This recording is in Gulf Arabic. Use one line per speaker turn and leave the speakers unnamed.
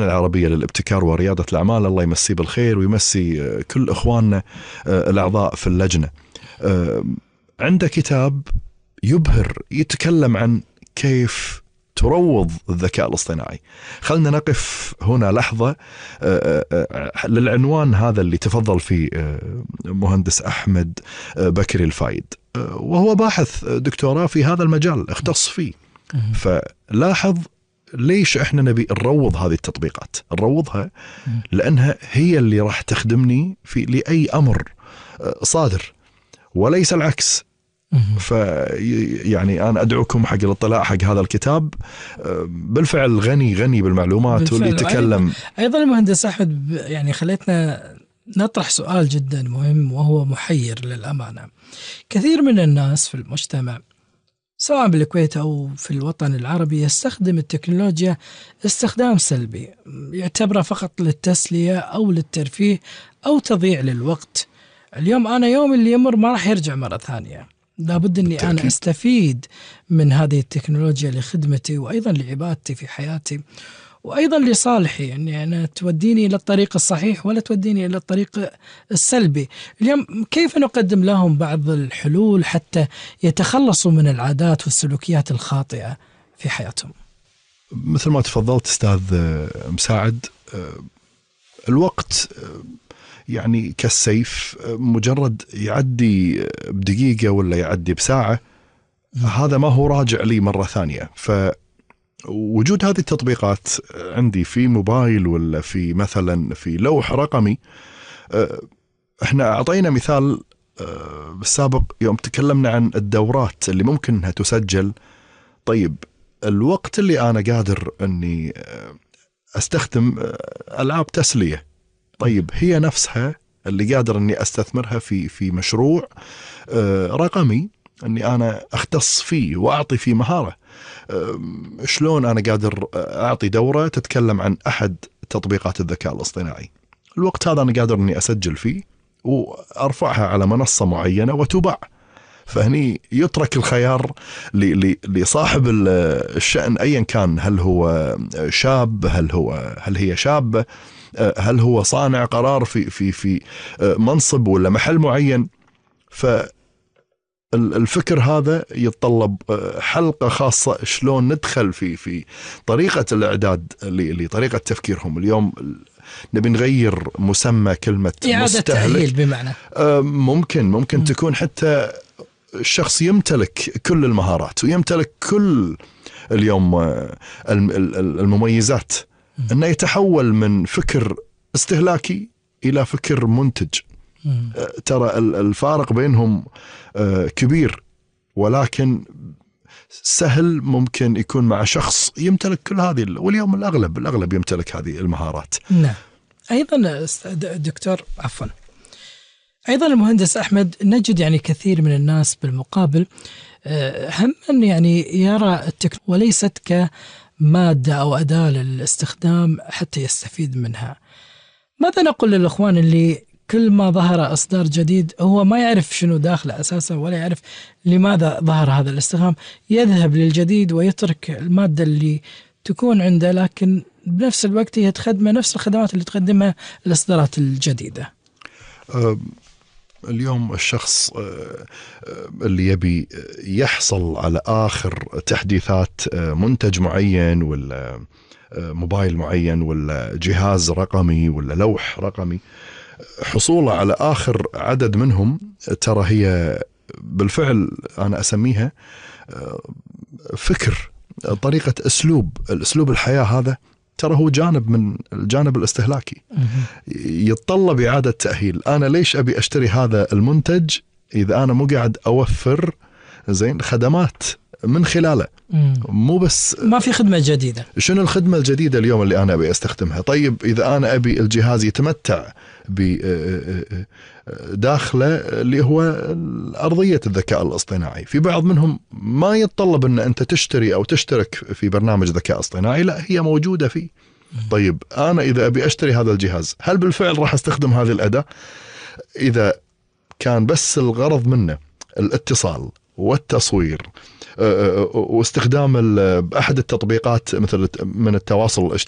العربية للابتكار وريادة الأعمال، الله يمسيه بالخير ويمسي كل إخواننا الأعضاء في اللجنة. عنده كتاب يبهر يتكلم عن كيف تروض الذكاء الاصطناعي. خلنا نقف هنا لحظة للعنوان هذا اللي تفضل فيه مهندس أحمد بكري الفايد، وهو باحث دكتوراه في هذا المجال اختص فيه. فلاحظ ليش احنا نبي نروض هذه التطبيقات؟ نروضها لأنها هي اللي راح تخدمني في لأي أمر صادر وليس العكس. يعني أنا أدعوكم حق الاطلاع حق هذا الكتاب، بالفعل غني بالمعلومات واللي يتكلم.
أيضا المهندس أحمد يعني خليتنا نطرح سؤال جدا مهم وهو محير للأمانة. كثير من الناس في المجتمع سواء بالكويت أو في الوطن العربي يستخدم التكنولوجيا استخدام سلبي، يعتبرها فقط للتسلية أو للترفيه أو تضييع للوقت. اليوم أنا يوم اللي يمر ما راح يرجع مرة ثانية، لابد أني أنا أستفيد من هذه التكنولوجيا لخدمتي وأيضا لعبادتي في حياتي وأيضا لصالحي، يعني أنا توديني إلى الطريق الصحيح ولا توديني إلى الطريق السلبي. اليوم كيف نقدم لهم بعض الحلول حتى يتخلصوا من العادات والسلوكيات الخاطئة في حياتهم؟
مثل ما تفضلت أستاذ مساعد، الوقت يعني كالسيف، مجرد يعدي بدقيقة ولا يعدي بساعة هذا ما هو راجع لي مرة ثانية. فوجود هذه التطبيقات عندي في موبايل ولا في مثلا في لوح رقمي. احنا أعطينا مثال بالسابق يوم تكلمنا عن الدورات اللي ممكن انها تسجل. طيب الوقت اللي أنا قادر أني أستخدم ألعاب تسلية، طيب هي نفسها اللي قادر أني أستثمرها في مشروع رقمي أني أنا أختص فيه وأعطي فيه مهارة. شلون أنا قادر أعطي دورة تتكلم عن أحد تطبيقات الذكاء الاصطناعي، الوقت هذا أنا قادر أني أسجل فيه وأرفعها على منصة معينة وتباع. فهني يترك الخيار لصاحب الشأن أيا كان، هل هو شاب، هل هي شابة، هل هو صانع قرار في منصب ولا محل معين. فالفكر هذا يتطلب حلقة خاصة شلون ندخل في طريقة الإعداد لطريقة تفكيرهم. اليوم نبي نغير مسمى كلمة
إعادة تأهيل بمعنى
ممكن تكون حتى الشخص يمتلك كل المهارات ويمتلك كل اليوم المميزات، أنه يتحول من فكر استهلاكي إلى فكر منتج. ترى الفارق بينهم كبير، ولكن سهل ممكن يكون مع شخص يمتلك كل هذه، واليوم الأغلب يمتلك هذه المهارات.
نعم. أيضا دكتور أيضا المهندس أحمد، نجد يعني كثير من الناس بالمقابل هم أن يعني يرى التكنولوجيا وليست كمادة أو أداة للاستخدام حتى يستفيد منها. ماذا نقول للأخوان اللي كل ما ظهر إصدار جديد هو ما يعرف شنو داخله أساسا ولا يعرف لماذا ظهر هذا الاستخدام، يذهب للجديد ويترك المادة اللي تكون عنده، لكن بنفس الوقت هي تخدمه نفس الخدمات اللي تقدمها الإصدارات الجديدة.
اليوم الشخص اللي يبي يحصل على آخر تحديثات منتج معين ولا موبايل معين ولا جهاز رقمي ولا لوح رقمي، حصوله على آخر عدد منهم ترى هي بالفعل أنا أسميها فكر، طريقة الأسلوب الحياة. هذا ترى هو جانب من الجانب الاستهلاكي يتطلب إعادة تأهيل. أنا ليش أبي أشتري هذا المنتج إذا أنا مو قاعد أوفر خدمات من خلاله؟ مو بس
ما في خدمة جديدة.
شنو الخدمة الجديدة اليوم اللي أنا أبي أستخدمها؟ طيب إذا أنا أبي الجهاز يتمتع بداخله اللي هو أرضية الذكاء الاصطناعي، في بعض منهم ما يتطلب أن أنت تشتري أو تشترك في برنامج ذكاء اصطناعي، لا هي موجودة فيه. طيب أنا إذا أبي أشتري هذا الجهاز هل بالفعل راح أستخدم هذه الأداة؟ إذا كان بس الغرض منه الاتصال والتصوير واستخدام أحد التطبيقات مثل من التواصل الاجتماعي